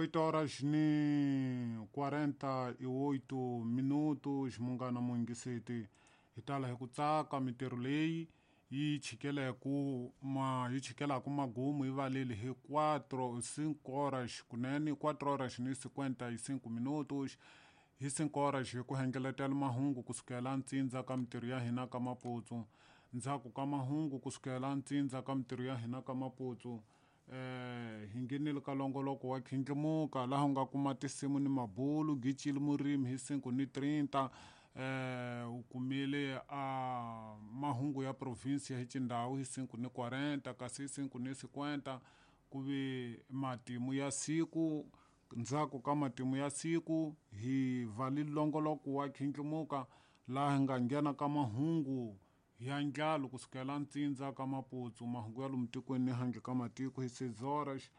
8 horas ni 48 minutos munghana muyingiseti hi tala hi ku tsaka mintirho leyi yi chikeleku ma yi chikelaku magumu yi valeli hi 4 5 horas kunene 4 horas ni 55 minutos hi 5 horas hi ku hengeletela mahungu kusukela ntsindza ka mintirho ya hina ka maputsu ndzhaku ka mahungu kusukela ntsindza ka mintirho ya hina ka maputsu hi nghenile ka longoloko wa khindlimuka laha u nga kuma tinsimu ni mabulu gicile murimi hi 5 ni 30 u kumile a mahungu ya province ya xindhawu hi 5 ni 40 kasi hi 5 ni 50 ku ve matimu ya siku ndzhaku ka matimu ya siku hi vali longoloko wa khindlimuka laha hi nga nghena ka mahungu ya ndlalo kusukela ntsindza ka maputsu mahungu ya lomu tikweni ni handle ka matiko hi 6 horas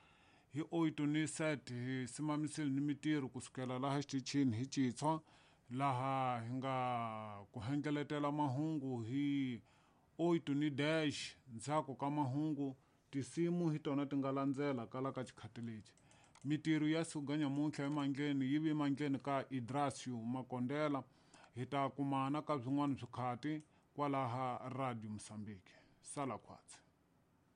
hi 8 ni 7 hi simamisile ni mitirho kusukela laha xitichini hi Chitshwa laha hi nga ku hengeletela mahungu hi 8 ni dash ndzhaku ka mahungu tinsimu hi tona ti nga landzela kala ka xikhati lexi mitirho ya siku nyamuntlha emandleni yi vi mandleni ka Idrasio Makondela hi ta kumana ka byin'wana swikhati kwalaha Radio Mozambique sala khwatsi.